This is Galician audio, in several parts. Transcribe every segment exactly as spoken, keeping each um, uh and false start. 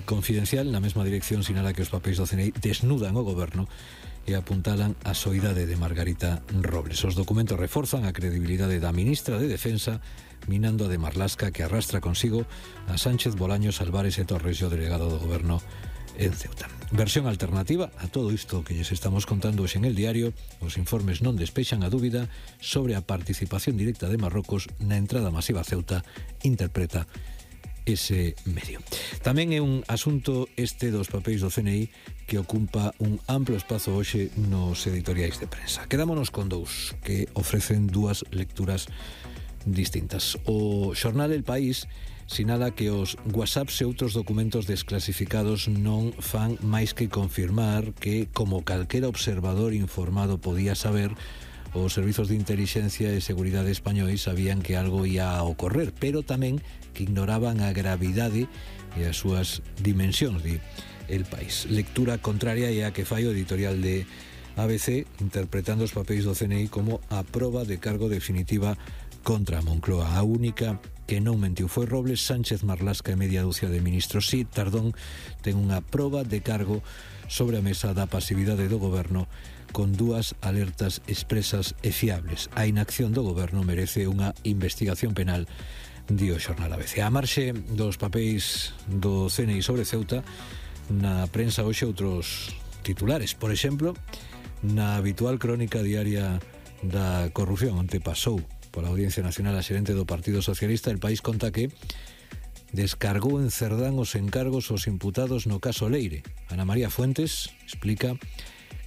Confidencial, na mesma dirección, sinala que os papéis do C N I desnudan o goberno e apuntalan a soidade de Margarita Robles. Os documentos reforzan a credibilidade da ministra de Defensa, minando a de Marlaska, que arrastra consigo a Sánchez, Bolaños, Álvarez e Torres e o delegado do goberno en Ceuta. Versión alternativa a todo isto que lles estamos contando hoxe en El Diario. Os informes non despexan a dúbida sobre a participación directa de Marrocos na entrada masiva a Ceuta, interpreta ese medio. Tamén é un asunto este dos papéis do C N I que ocupa un amplo espazo hoxe nos editoriais de prensa. Quedámonos con dous que ofrecen dúas lecturas distintas. O xornal El País sinala que os WhatsApps e outros documentos desclasificados non fan máis que confirmar que, como calquera observador informado podía saber, os servizos de intelixencia e seguridade españois sabían que algo ia a ocorrer, pero tamén que ignoraban a gravidade e as súas dimensións, di El País. Lectura contraria é a que fai o editorial de A B C, interpretando os papéis do C N I como a proba de cargo definitiva contra a Moncloa. A única que non mentiu foi Robles. Sánchez, Marlaska e media dúcia de ministros. Si, Tardón ten unha proba de cargo sobre a mesa da pasividade do goberno con dúas alertas expresas e fiables. A inacción do goberno merece unha investigación penal, di o xornal A B C. A marxe dos papéis do C N I sobre Ceuta, na prensa hoxe outros titulares. Por exemplo, na habitual crónica diaria da corrupción, onde pasou pola Audiencia Nacional a xerente do Partido Socialista, El País conta que descargou en Cerdán os encargos aos imputados no caso Leire. Ana María Fuentes explica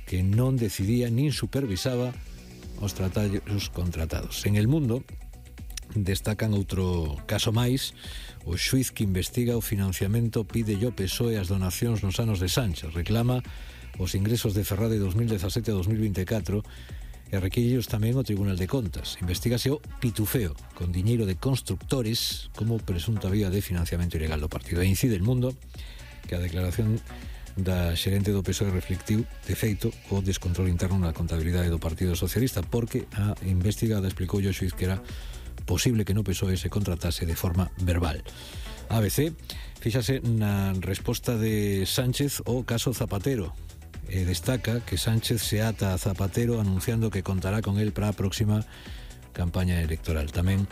que non decidía nin supervisaba os tratallos contratados. En El Mundo destacan outro caso máis. O xuiz que investiga o financiamento pide ao P S O E as donacións nos anos de Sánchez. Reclama os ingresos de Ferrade dos mil dezasete a dos mil vinte e catro e requíreos tamén o Tribunal de Contas. Investígase o pitufeo con diñeiro de constructores como presunta vía de financiamento ilegal do partido. E incide El Mundo que a declaración da xerente do P S O E reflectiu, de feito, o descontrol interno na contabilidade do Partido Socialista, porque a investigada explicou ao xuiz que era posible que no P S O E se contratase de forma verbal. A B C fíxase na resposta de Sánchez ao caso Zapatero e destaca que Sánchez se ata a Zapatero anunciando que contará con él para a próxima campaña electoral. Tamén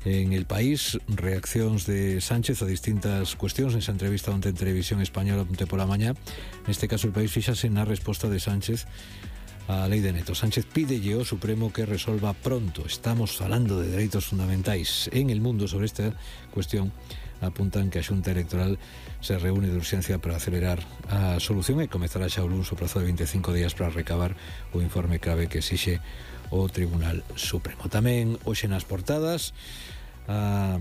en El País, reaccións de Sánchez a distintas cuestións nesa entrevista onte en Televisión Española onte pola mañá. Neste caso, El País fíxase na resposta de Sánchez a lei de neto. Sánchez pídelle ao Supremo que resolva pronto. Estamos falando de dereitos fundamentais. En El Mundo, sobre esta cuestión, apuntan que a Xunta Electoral se reúne de urxencia para acelerar a solución e comezará xa o luns o prazo de vinte e cinco días para recabar o informe clave que exixe o Tribunal Supremo. Tamén hoxe nas portadas, a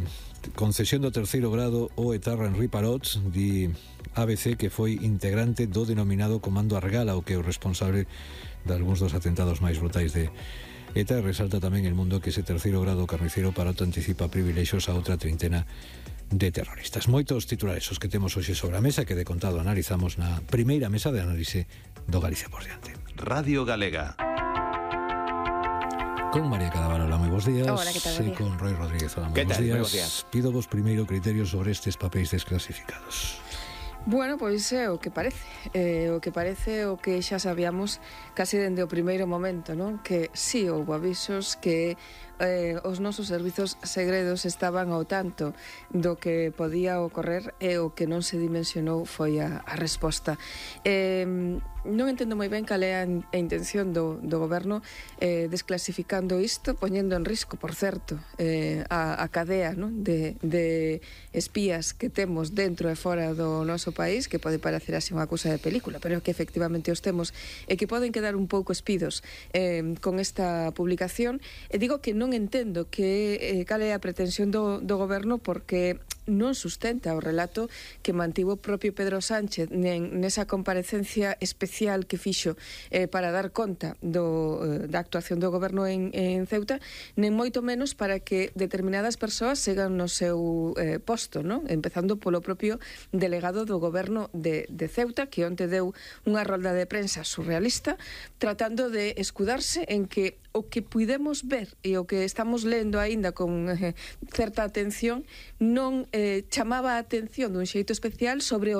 concesión do terceiro grado o etarra Henri Parot, di A B C que foi integrante do denominado Comando Argala, o que é o responsable de algúns dos atentados máis brutais de ETA. E resalta tamén El Mundo que ese terceiro grado carnicero Parot anticipa privilexios a outra trintena de terroristas. Moitos titulares os que temos hoxe sobre a mesa que de contado analizamos na primeira mesa de análise do Galicia por diante. Radio Galega. Con María Cadaval, hola, moi bons días. Hola, que tal? E con Roy Rodríguez, hola, moi bons días. días. Pido vos primeiro criterios sobre estes papéis desclasificados. Bueno, pois é o que parece eh, O que parece o que xa sabíamos casi dende o primeiro momento, non? Que si houve avisos que eh, os nosos servizos segredos estaban ao tanto do que podía ocorrer e o que non se dimensionou foi a, a resposta. Eh, non entendo moi ben cal é a, a intención do, do goberno eh, desclasificando isto, poñendo en risco, por certo, eh, a, a cadea, non? De, de espías que temos dentro e fora do noso país, que pode parecer así unha cousa de película, pero que efectivamente os temos e que poden quedar un pouco espidos eh, con esta publicación. E digo que non entendo que eh, cal é a pretensión do, do goberno, porque non sustenta o relato que mantivo o propio Pedro Sánchez nen, nesa comparecencia especial que fixo eh, para dar conta do, eh, da actuación do goberno en, en Ceuta, nen moito menos para que determinadas persoas sigan no seu eh, posto, non? Empezando polo propio delegado do goberno de, de Ceuta, que onte deu unha rolda de prensa surrealista tratando de escudarse en que o que puidemos ver e o que estamos lendo aínda con eh, certa atención non eh, chamaba a atención dun xeito especial sobre o